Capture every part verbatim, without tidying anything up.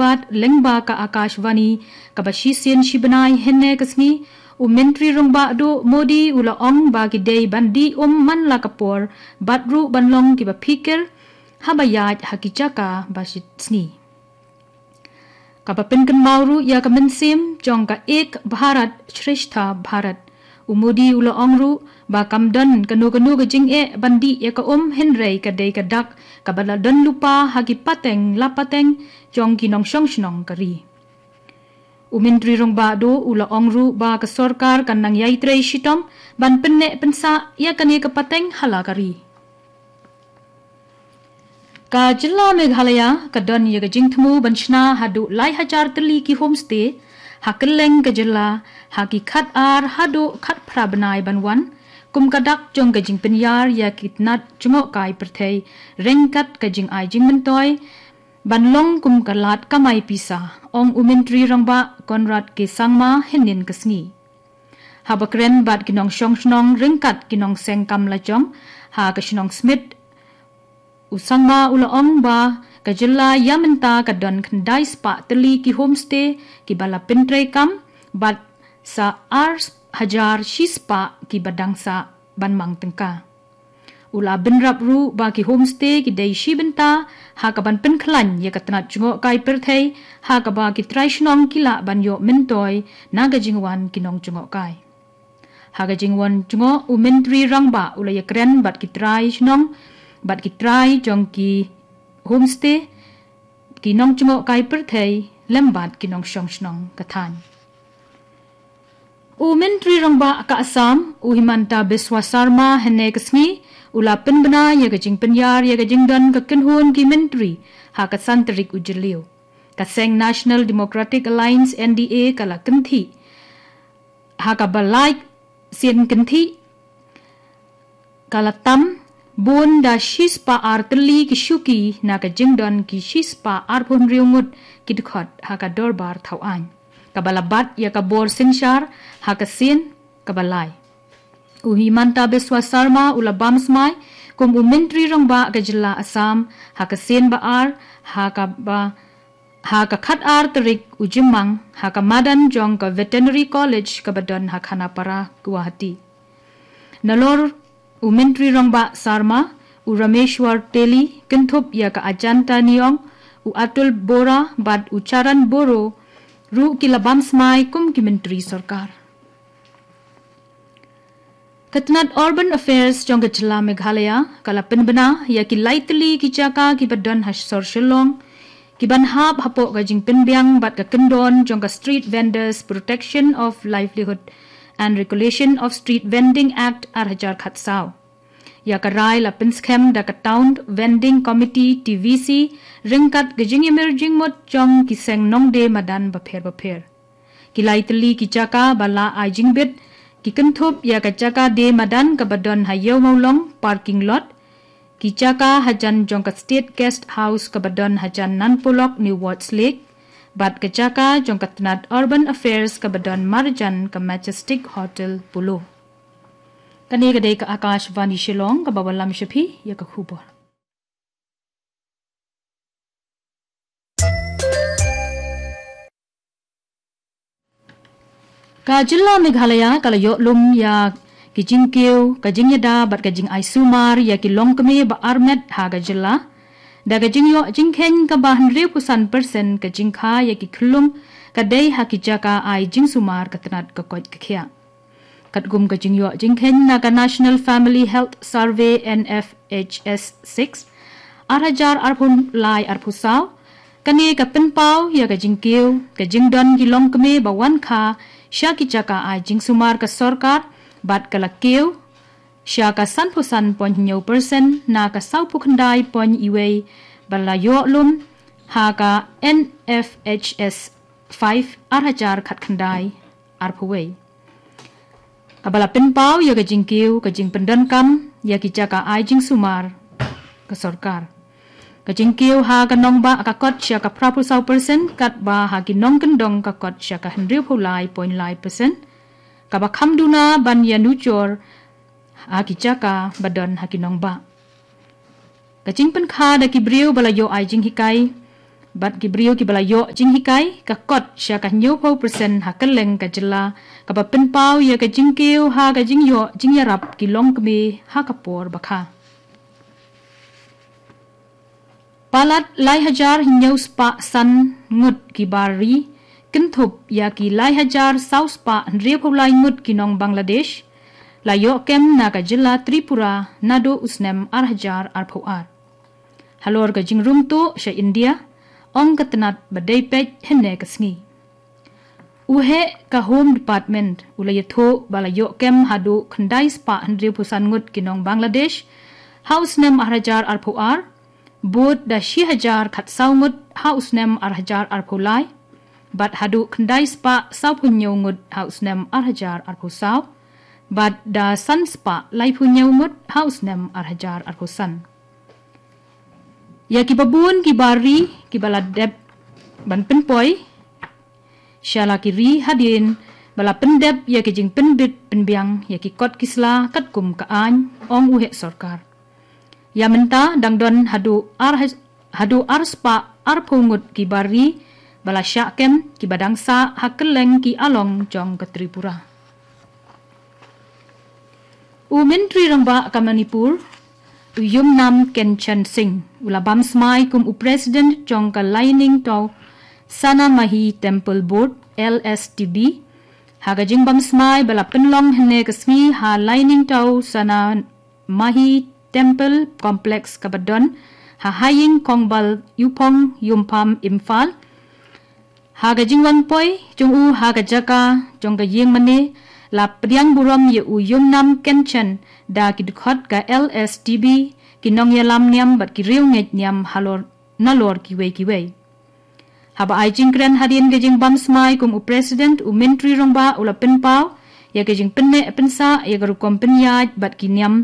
Bad lyngba ka Akashvani kaba shisien shi bnai hynne ka sngi, u Myntri Rangbah Duh Modi u la ong ba ki dei ban dih um man la ka por bad ruh ban long kiba phikir haba ïaid ha ki jaka ba shi sngi. Kaba pynkynmaw ruh ïa ka mynsiem jong ka Ek Bharat Shreshtha Bharat. U Modi u la ong ruh ba kam don kano kano ka jingeh ban dih ïa ka um, hynrei ka dei ka dak kaba la don lypa ha ki pateng la pateng jong ki nongshong shnong ka ri. U Myntri Rangbah Duh u la ong ruh ba ka sorkar kan nang ïai trei shitom ban pynneh pynsah ïa kane ka pateng ha la ka ri. Ka jylla Meghalaya ka don ïa ka jingthmu ban shna haduh lai hajar tylli ki homestay ha kylleng ka jylla ha ki khatar haduh khatphra bnai ban wan, kum ka dak jong ka jingpynïar ïa ki tnat jngohkai pyrthei ryngkat ka jingai jingmyntoi ban long kum ka lad kamai pisa, ong u Myntri Rangbah Conrad K Sangma hynnin ka sngi. Haba kren bad ki nongshong shnong ryngkat ki nongseng kam lajong ha ka shnong Smit, u Sangma u la ong ba ka jylla ïa mynta ka don khyndai spah tylli ki homestay kiba la pyntreikam bad sa ar hajar shi spah kiba dang sah ban mang tyngka. U la bynrap ruh ba ki homestay ki dei shi bynta ha kaban pynkhlaiñ ïa ka tnat jngohkai pyrthei ha kaba ki trai shnong ki lah ban ïoh myntoi na ka jingwan ki nongjngohkai. Ha ka jingwan jngoh u Myntri Rangbah u la ïakren bad ki trai shnong bad ki trai jong ki homestay, ki nongjngohkai pyrthei lem bad ki nongshong shnong ka thaiñ. U Myntri Rangbah ka Assam u Himanta Biswa Sarma hynne ka sngi u la pynbna ïa ka jingpynïar ïa ka jingdon ka kynhun ki myntri ha ka san tarik u Jylliew. Ka seng National Democratic Alliance N D A ka la kynthih ha kaba lai sien kynthih ka la tam bun da shi spah ar tylli ki shuki na ka jingdon ki shi spah arphew hynriew ngut ki dkhot ha ka dorbar thaw aiñ kaba la bat ïa ka bor synshar ha ka sien kaba lai. U Himanta Biswa Sarma u la bam smai kum u Myntri Rangbah ka jylla Assam ha ka sien ba ar ha kaba ha ka khatar tarik u Jymmang ha ka madan jong ka Veterinary College kaba don ha Khanapara, Guwahati. Nalor u Myntri Rangbah Sarma, u Rameshwar Teli, kynthup ïa ka Ajanta Neong, u Atul Bora bad u Charan Boro ruh ki la bam smai kum ki myntri sorkar. Ka tnat Urban Affairs jong ka jylla Meghalaya ka la pynbna ïa ki lai tylli ki jaka kiba don ha sor Shillong kiban hap hapoh ka jingpynbiang bad ka kyndon jong ka Street Vendors Protection of Livelihood and Regulation of Street Vending Act ar hajar khatsaw. Ïa ka rai la pynskhem da ka Town Vending Committee, T V C, ryngkat ka jingïamir jingmut jong ki seng nongdie madan bapher bapher. Ki lai tylli ki jaka ba la ai jingbit ki kynthup ïa ka jaka die madan kaba don ha Ïew Mawlong parking lot, ki jaka hajan jong ka State Guest House kaba don hajan Nan Polok New Wards Lake, bad ka jaka jong ka tnat Urban Affairs kaba don marjan ka Majestic Hotel Polo. Kane ka dei ka Akashvani Shillong kaba wallam sha phi ïa ka khubor. Ka jylla Meghalaya ka la ïoh lum ïa ki jingkiew, ka jingïada bad ka jingai sumar ïa ki longkmie ba armet ha ka jylla. Da ka jingïoh jingkheiñ kaba hynriewphew san persen ka jingkha ïa ki khyllung ka dei ha ki jaka ai jingsumar ka tnat ka koit ka khiah. Katkum ka jingïoh jingkheiñ na ka National Family Health Survey, N F H S six, ar hajar arphew lai arphew saw, kane ka pynpaw ïa ka jingkiew ka jingdon ki longkmie ba wan kha sha ki jaka ai jingsumar ka sorkar bad ka la kiew sha ka sanphew san point hynñiew persen na ka sawphew khyndai point wei ba la ïoh lum ha ka N F H S five, ar hajar khatkhyndai arphew wei. Kaba la pynpaw ïa ka jingkiew ka jingpyndonkam ïa ki jaka ai jingsumar ka sorkar. Ka jingkiew ha ka nongbah ka kot sha ka phraphew saw persen, katba ha ki nongkyndong ka kot sha ka hynriewphew lai point lai persen. Kaba kham duna ban ïanujor ha ki jaka ba don ha ki nongbah. Ka jingpynkha da ki briew ba la ïoh ai jinghikai Bad ki briew kiba la ïoh jinghikai ka kot sha ka hynñiewphew percent ha kylleng ka jylla, kaba pynpaw ïa ka jingkiew ha ka jingïoh jingïarap ki longkmie ha ka por bakha. Palat lai hajar hynñiew spah san ngut ki bar ri, kynthup ïa ki lai hajar saw spah hynriewphew lai ngut ki nong Bangladesh la ïoh kem na ka jylla Tripura naduh u snem ar hajar arphew ar. Halor ka jingrung tuh sha India, ong ka tnat ba dei peit hynne ka sngi. U heh ka Home Department u la ïathuh ba la ïoh kem haduh khyndai spah hynriewphew san ngut ki nong Bangladesh ha u snem ar hajar arphew ar, bud da shi hajar khatsaw ngut ha u snem ar hajar arphew lai, bad haduh khyndai spah sawphew hynñiew ngut ha u snem ar hajar arphew saw, bad da san spah laiphew hynñiew ngut ha u snem ar hajar arphew san. Ïa kiba bun ki bar ri kiba la dep ban pynpoi sha la ki ri hadien ba la pyndep ïa ki jingpynbit pynbiang ïa ki kot ki sla katkum ka aiñ, ong u heh sorkar. Ïa mynta dang don haduh ar haj-, haduh ar spah arphew ngut ki bar ri ba la shah kem kiba dang sah ha kylleng ki along jong ka Tripura. U Myntri Rangbah ka Manipur, u Yumnam Khemchand Singh, u la bam smai kum u President jong ka Lainingtaw Sanamahi Temple Board, L S T B, ha ka jingbam smai ba la pynlong hynne ka sngi ha Lainingtaw Sanamahi Temple Complex kaba don ha Haying Khongbal Yupong Yumpham Imphal. Ha ka jingwan poi jong u ha ka jaka jong ka ïing mane, la pdiang burom ïa u Yumnam Khemchand da ki dkhot ka L S T B, ki nongïalam niam bad ki riewngeit niam halor nalor kiwei kiwei. Haba ai jingkren hadien ka jingbam smai kum u President, u Myntri Rangbah u la pynpaw ïa ka jingpynneh pynsah ïa ka rukom pynïaid bad ki niam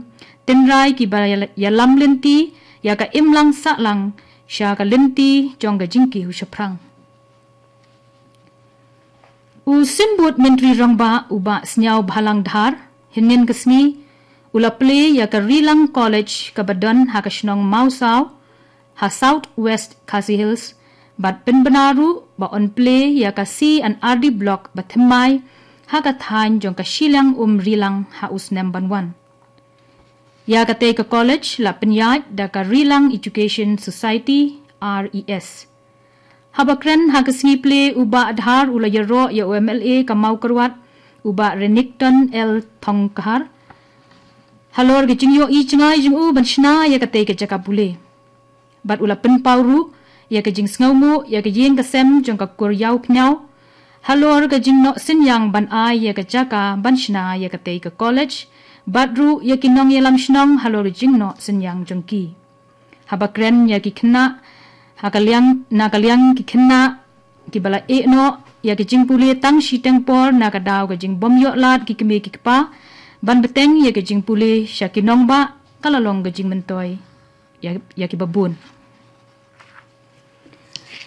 tynrai kiba ïalam lynti ïa ka imlang sahlang sha ka lynti jong ka jingkiew shaphrang. U Symbud Myntri Rangbah u Bah Sniawbhalang Dhar, hynnin ka sngi u la plie ïa ka Rilang College kaba don ha ka shnong Mawsaw ha South West Khasi Hills, bad pynbna ruh ba yn plie ïa ka C and R D Block ba thymmai ha ka thaiñ jong ka shiliang um Rilang ha u snem ban wan. Ïa katei ka college la pynïaid da ka Rilang Education Society, R E S. Haba kren ha ka sngi plie, u Bah Dhar u la ïaroh ïa u M L A ka Mawkyrwat, u Bah Renikton L Thongkhar, halor ka jingïohi jngai jong u ban shna ïa katei ka jaka pule. Bad u la pynpaw ruh ïa ka jingsngewnguh ïa ka ïing ka sem jong ka Kur Ïawphniaw halor ka jingnoh synñiang ban ai ïa ka jaka ban shna ïa katei ka college, bad ruh ïa ki nongïalam shnong halor ka jingnoh synñiang jong ki. Haba kren ïa ki khynnah, ha ka liang, na ka liang ki khynnah kiba la ïehnoh ïa ka jingpule tang shiteng por na ka daw ka jingbym ïoh lad ki kmie ki kpa ban bteng ïa ka jingpule sha ki nongbah, ka la long ka jingmyntoi ïa, ïa kiba bun.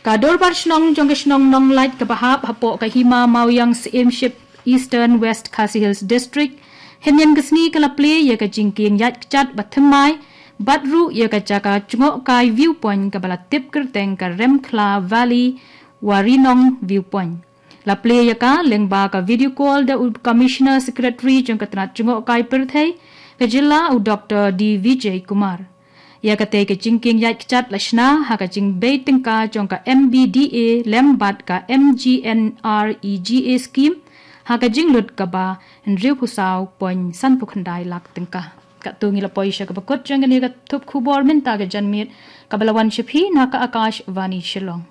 Ka Dorbar Shnong jong ka shnong Nonglait kaba hap hapoh ka Hima Mawïang Syiemship, Eastern West Khasi Hills District, hynnin ka sngi ka la plie ïa ka jingkieng ïaid kjat ba thymmai bad ruh ïa ka jaka jngohkai viewpoint kaba la tip kyrteng ka Remkhla Valley Warinong Viewpoint. La plie ïa ka lyngba ka video call da u Commissioner Secretary jong ka tnat jngohkai pyrthei ka jylla, u Doctor D Vijay Kumar. Ïa katei ka jingkieng ïaid kjat la shna ha ka jingbei tyngka jong ka M B D A lem bad ka M G N R E G A scheme ha ka jinglut kaba hynriewphew saw point sanphew khyndai lak tyngka. Katto ngi la poi sha kaba kut jong kane ka thup khubor mynta ka janmiet, kaba la wan sha phi na ka Akashvani Shillong.